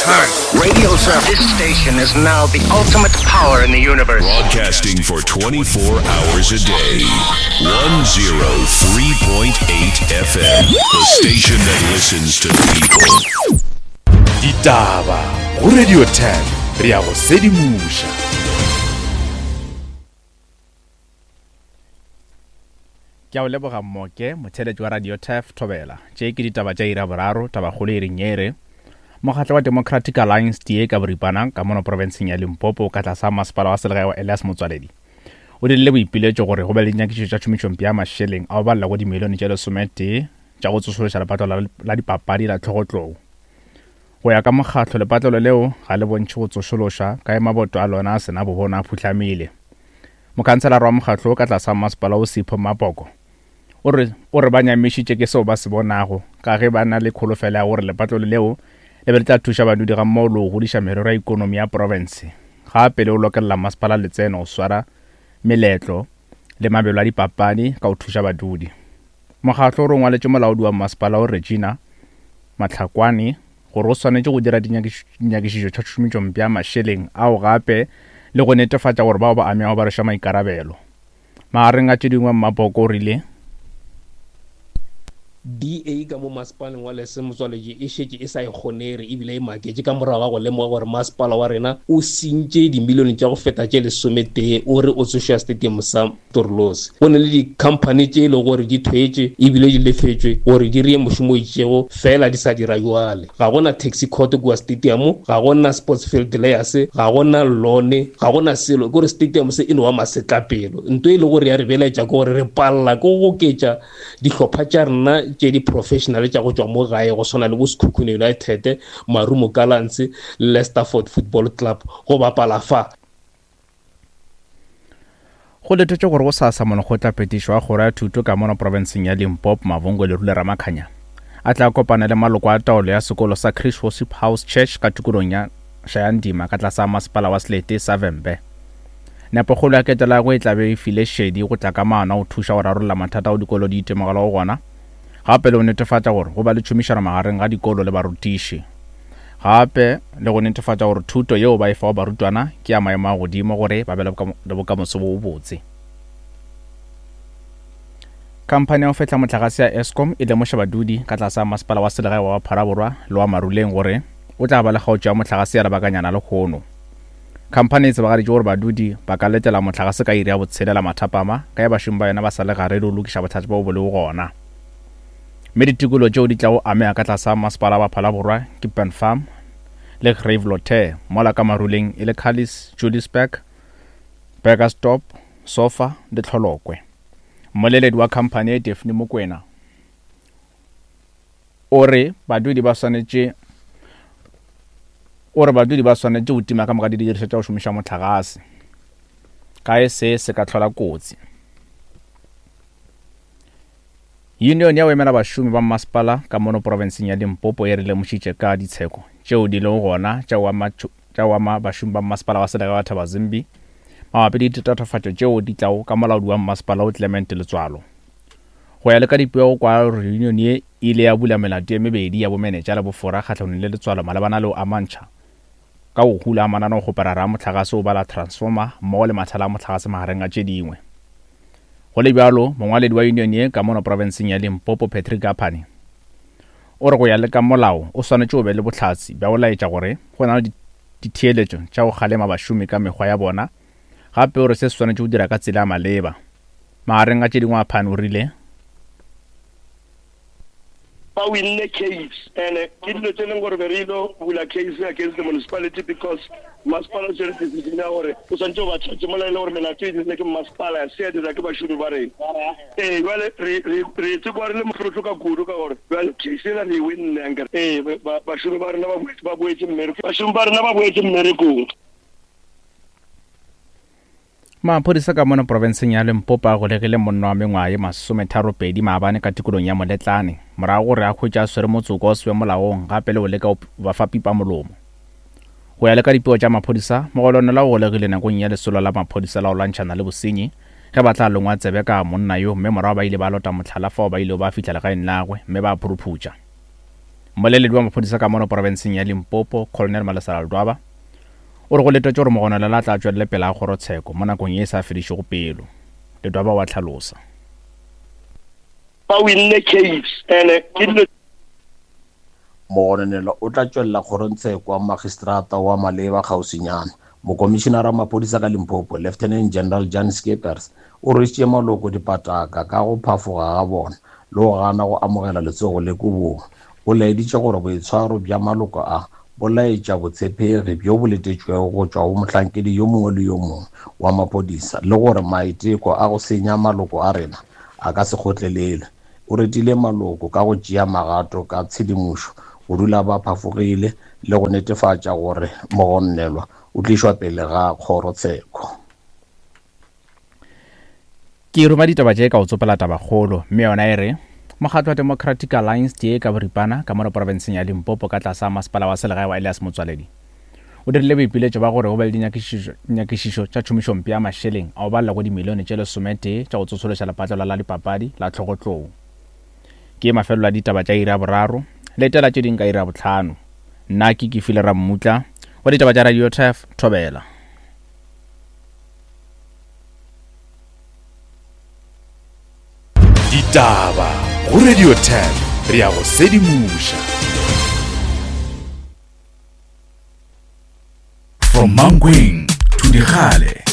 10. Radio This station is now the ultimate power in the universe. Broadcasting for 24 hours a day. 103.8 FM. The station that listens to people. Ditaba go Radio 10 re ya go sedimoša. Ke a o leboga Mmoke, motheeletši wa Radio Turf Thobela. Tše ke ditaba tša iri ya boraro, tabakgolo e reng ye e re, Mokgatlo wa Democratic Alliance, DA ka boripana, ka mono profenseng ya Limpopo ka tlasa masepala wa selegae wa Elias Motswaledi o dirile boipiletšo gore go be le dinyakišišo tša tšhomišompe ya mašeleng a go balela go dimilione tše lesometee tša go tsošološa lepatlelo la dipapadi la Tlhogotlou. Go ya ka mokgatlo, lepatlelo leo ga le bontšhe go tsošološwa ka ge maboto a lona a se na bobono a phuhlamile. Mokhanselara wa mokgatlo wo ka tlase ga masepala wo Sipho Mapoko o re o re ba nyamišitše ke seo ba se bonago ka ge ba na le kholofelo ya gore lepatlelo leo le be le tla thuša badudi gammogo le go godiša merero ya ikonomi ya profense gape le go lokelela masepala letseno go swara meletlo le mabelo a dipapadi ka go thuša badudi. Mokgatlo o re o ngwaletše molaodi wa masepala wo Regina Mahlakwane gore o swanetše go dira dinyakišišo tša tšhomitšompe ya mašeleng ao gape le go netefatša gore bao ba amegago ba rwešwa maikarabelo. Magareng a tše dingwe Mmapoko o rile. DA ka mo masepaleng wa Lese Motswaletši e šetše e sa e kgonege ebile e maketše ka morago ga go lemoga gore masepala wa rena o sentše dimilione tša go feta tše lesometee o re o tsoša stadium sa Torlosi. Go na le dikhamphani tše e lego gore di thwetšwe ebile di lefetšwe gore di reye mošomo o itšego fela di sa dira bjale. Ga go na taxi court kua stadium, ga go na sports field layers, ga go na lawn, ga go na selo. Ke gore stadium se e no ba masetlapelo. Nto e lego gore ya re belaetša ke gore re palela ke go goketša dihlopha tša rena tše di-professional tša go tšwa mo gae go swana le bo Sekhukhune United, Marumo Gallants le Leicesterford Football Club go bapala fa. Go letetšwe gore gosasa molekgotlaphethiši wa kgoro ya thuto ka mono profenseng ya Limpopo, Mavhungo Lerule Ramakhanya, a tla kopana le maloko a taolo ya sekolo sa Chris Worship House Church ka tikolong ya Shayandima ka tlase ga masepala wa Selete sa Vhembe. Nepokgolo ya ketelo ya gagwe e tla be e file šedi go tla ka maano a go thuša go rarolla mathata ao dikolo di itemogelago gona gape le go netefatša gore go ba le tšhomišano magareng ga dikolo le barutiši. Gape le go netefatša gore thuto yeo ba e fago barutwana ke ya maemo a godimo gore ba be le bokamoso bo bobotse. Khamphani ya go fehla mohlagase ya Eskom e lemoša badudi ka tlase ga masepala wa selegae wa Pharaborwa le wa Maruleng gore o tla ba le kgaotšo ya mohlagase ya lebakanyana lehono. Khamphani e tsebagaditše gore badudi ba ka letela mohlagase ka iri ya botshelela mathapama ka ge bašomi ba yona ba sa le gare le go lokiša bothata bjo bo lego gona. Mme ditikolo tšeo di tlago amega ka tlase ga masepala wa Phalaborwa ke Pen Farm le Gravelotte, mola ka Maruleng e le Cullis, Juliusburg, Burgersdorp, Sofa le Tlholokwe. Mmoleledi wa khamphani ye Daphne Mokwena o re badudi ba swanetše o re badudi ba swanetše go tima ka moka didirišwa tša go šomiša mohlagase ka ge se se ka hlola kotsi. Yunione ya go emela bašomi ba mmasepala ka mono profenseng ya Limpopo e re lemošitše ka ditsheko tšeo di lego gona tša go ama tša go ama bašomi ba mmasepala wa selegae wa Thabazimbi mabapi le ditatofatšo tšeo di tlago ka molaodi wa mmasepala wo Clement Letswalo. Go ya le ka dipego go kwagala gore yunione ye e ile ya bula melato ye mebedi ya bomenetša le bofora kgahlanong le Letswalo malebana le go amantšha ka go hula mananeokgoparara a mohlagase o bala transformer mmogo le mathala a mohlagase magareng a tše dingwe. Go le bjalo, mongwaledi wa union ye ka mono profenseng ya Limpopo Patrick Aphane o re go ya le ka molao o swanetše o be le bohlatse bja go laetša gore go na le ditheeletšo tša go kgalema bašomi ka mekgwa ya bona gape o re se se swanetše go dira ka tsela ya maleba. Magareng a tše dingwe Aphane o rile, Ba winne case and ke dilo tse leng gore be re ilo bula case against the municipality because masepala o tsere decision ya gore o swantse o ba charge mola e le gore melato e dirile ke masepala ya se ya dira ke bašomi ba rena. Ee, jwale re re re tsekwa re le mohlotlo ka kudu ka gore jwale case ela re e winne ankere. Ee, bašomi ba rena ba boetse ba boetse mmerekong. Bašomi ba rena ba boetse mmerekong. Maphodisa ka mono profenseng ya Limpopo a golegile monna wa mengwaga ye masometharopedi maabane ka tikolong ya Moletlane morago gore a hwetše a swere motsoko o sebe molaong gape le go leka go ba fa pipa molomo. Go ya le ka dipego tša maphodisa, mogolonela o golegile nakong ya lesolo la maphodisa la go lwantšhana le bosenyi ge ba tla longwa tsebe ka monna yo mme morago ba ile ba lota mohlala fao ba ilego ba fihla legaeng la gagwe mme ba phuruphutša. Mmoleledi wa maphodisa ka mono porofenseng ya Limpopo, Colonel Malesela Ledwaba, o re go letetšwe gore mogononelwa a tla tšwelele pele a kgorotsheko mo nakong ye e sa fedišego pelo. Ledwaba o a hlalosa. Ba winne case and ke dilo. Mogononelwa o tla tšwelela kgorongtsheko wa magistrata wa maleba kgauswinyana. Mokomišinara wa maphodisa ka Limpopo, Lieutenant General Jan Scheepers, o rwešitše maloko dipataka ka go phafoga ga bona le go gana go amogela letsogo le kobong. O laeditše gore boitshwaro bja maloko a bo laetša botshepegi bjo bo letetšwego go tšwa go mohlankedi yo mongwe le yo mongwe wa maphodisa le gore maiteko a go senya maloko a rena a ka se kgotlelelwe. O retile maloko ka go tšea magato ka tshedimošo go dula ba phafogile le go netefatša gore mogonnelwa o tlišwa pele ga kgorotsheko. Ke ruma ditaba tše ka go tsopela tabakgolo, mme yona e re, Mokgatlo wa Democratic Alliance, DA ka boripana, ka mono porofenseng ya Limpopo ka tlase ga masepala wa selegae wa Elias Motsoaledi, o dirile boipiletšo ba gore go be le dinyakišišo tša tšhomišompe ya mašeleng a go balela go dimilione tše lesometee tša go tsošološa lepatlelo la dipapadi la Tlhogotlou. Ke mafelelo a ditaba tša iri ya boraro, letela tše ding ka iri ya bohlano. Nna ke Kefile Rammutla, wa ditaba tša Radio Turf, Thobela. Ditaba go Radio 10 re ya go sedimoša. From Mankweng to Dikgale.